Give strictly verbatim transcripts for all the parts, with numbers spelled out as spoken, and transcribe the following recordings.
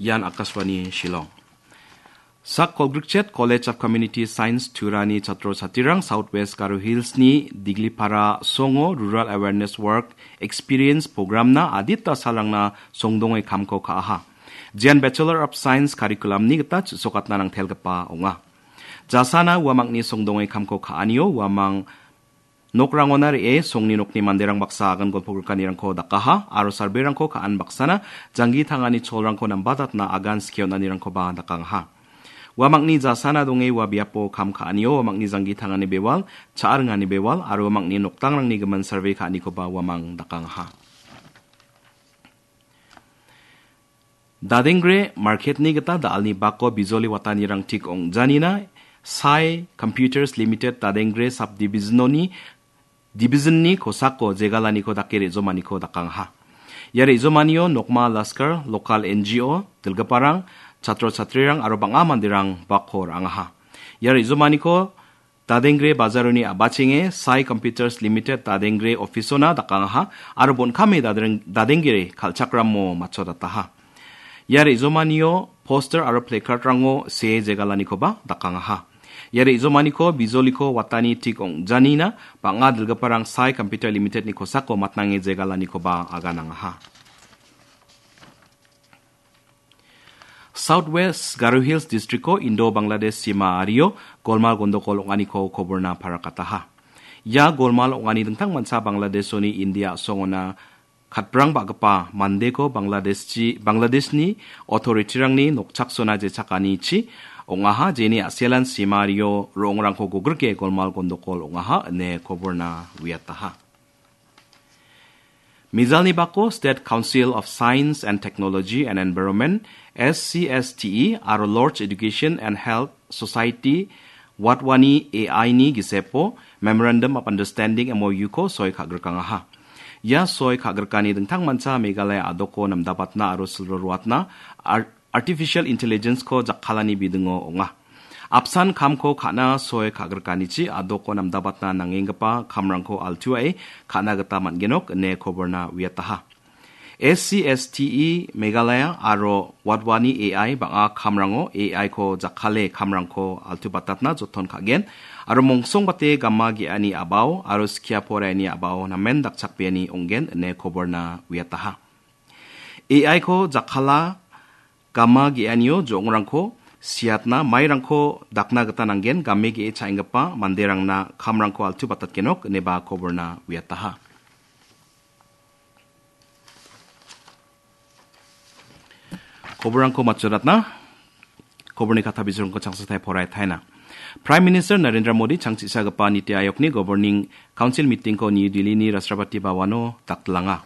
Ian Akashvani Shillong. Sak kolgrikchet College of Community Science Turani chatro chatrirang South West Garo Hills-ni Diglipara songo Rural Awareness Work Experience Program-na adita salrangna songdonge kamko ka·aha. Jean Bachelor of Science curriculum-ni gita chu·sokatna nangtelgipa ong·a. Jasana uamangni songdonge kamko ka·anio uamang nokrangona re·e songni nokni manderang baksa agan golpogrikanirangko dakaha aro sarberangko ka·an baksana janggi tangani cholrangko nambatatna agan skie on·anirangkoba dakangaha. Uamangni jasana donge ua biapo kam ka·anio uamangni janggi tangani bewal, cha·ringani bewal aro uamangni nokdangrangni gimin sarbe ka·anikoba uamang dakangaha. Dadengre market-ni gita da·alni bako bijoli watanirang tik ong·janina Sai Computers Limited Dadengre Subdivision-oni, Division-ni kosako jegalaniko dake re·jomaniko dakangaha. Ia re·jomanio Nokma Laskar, Local N G O, dilgiparang, chatro chatrirang aro bang·a manderang bako ra·angaha. Ia re·jomaniko Dadengre bajaroni a·bachenge Sai Computers Limited Dadengre office-ona dakangaha aro bon·kame dadreng-, Dadengre kal·chakramo matchotataha. Ia re·jomanio poster aro placard-rango see jegalanikoba dakangaha. Ia re·jomaniko bijoliko watani tik ong·janina bang·a dilgiparang Sai Computer Limited-ni kosako matnange jegalanikoba aganangaha. South West Garo Hills District-o Indo-Bangladesh sima ario golmal gondokol ong·aniko koborna parakataha. Ia golmal ong·ani dingtang mancha Bangladeshoni India a·songona katprang ba·gipa mandeko Bangladeshchi-, Bangladeshni authority-rangni nokchaksona jechakanichi ong·aha, jeni a·selan sima ario ro·ongrangko gogrike golmal gondokol ong·aha ine koborna uiataha. Mijalni bako State Council of Science and Technology and Environment, S C S T E, aro Lorch Education and Health Society, Wadhwani A I-ni gisepo Memorandum of Understanding, M O U-ko soi ka·grikangaha. Ia soi ka·grikani dingtang mancha Meghalaya a·doko namdabatna aro silro ruatna ar-, Artificial Intelligence-ko jakkalani bidingo ong·a. Apsan kamko ka·na soi ka·grikanichi a·doko namdabatna nangenggipa kamrangko altuae ka·na gita man·genok ine koborna uiataha. S C S T E Meghalaya aro Wadhwani A I bang·a kamrango A I-ko jakkale kamrangko altubatatna joton ka·gen aro mongsongbate gama ge·ani a·bao aro skia poraiani a·bao namen dakchakbeani ong·gen ine koborna uiataha. A I-ko jakkala gama ge·anio jo·ongrangko siatna mairangko dakna gita nanggen, game ge·e cha·enggipa manderangna kamrangko altu batatgenok ineba koborna uiataha. Koborrangko matchoratna, koborni katha bijrongko changsatai porai taina. Prime Minister Narendra Modi changchisagipa Niti Ayogni Governing Council meeting-ko New Delhi-ni Rashtrapati Bhavan-o daktlanga.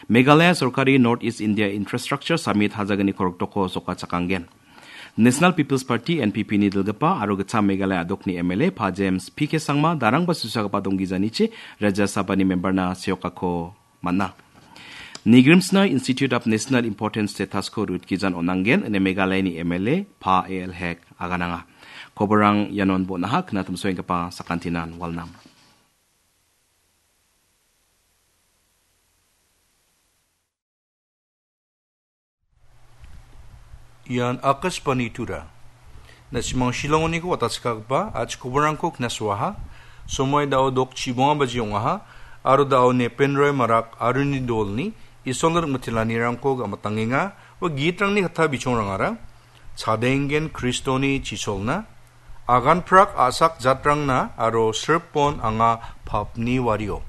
Meghalaya sorkari North East India Infrastructure Summit hajagni korokdoko sokachakanggen. National People's Party, N P P-ni dilgipa aro Gitcham Meghalaya a·dokni M L A Pa James P K Sangma darangba susagipa donggijanichi Rajya Sabhani member-na seokako man·a. Nigrimsna Institute of National Importance status-ko rutgijan on·angen ine Meghalayani M L A Pa A L Hek agananga. Koborrang ianon bon·aha, knatimsoenggipa sakantinan walnam. Ian Akashvani Tura. Na·simang Shillong-oniko watachakgipa a·chik koborrangko knasoaha. Somoi da·o dok chibonga baji ong·aha, aro da·o Nepen Roy Marak aroni dolni Isolni rimitilanirangko gam·atangenga, ua gitrangni katha bichongrangara, Chadenggen Kristoni chisolna, aganprak a·sak jatrangna aro sripon anga papni wario.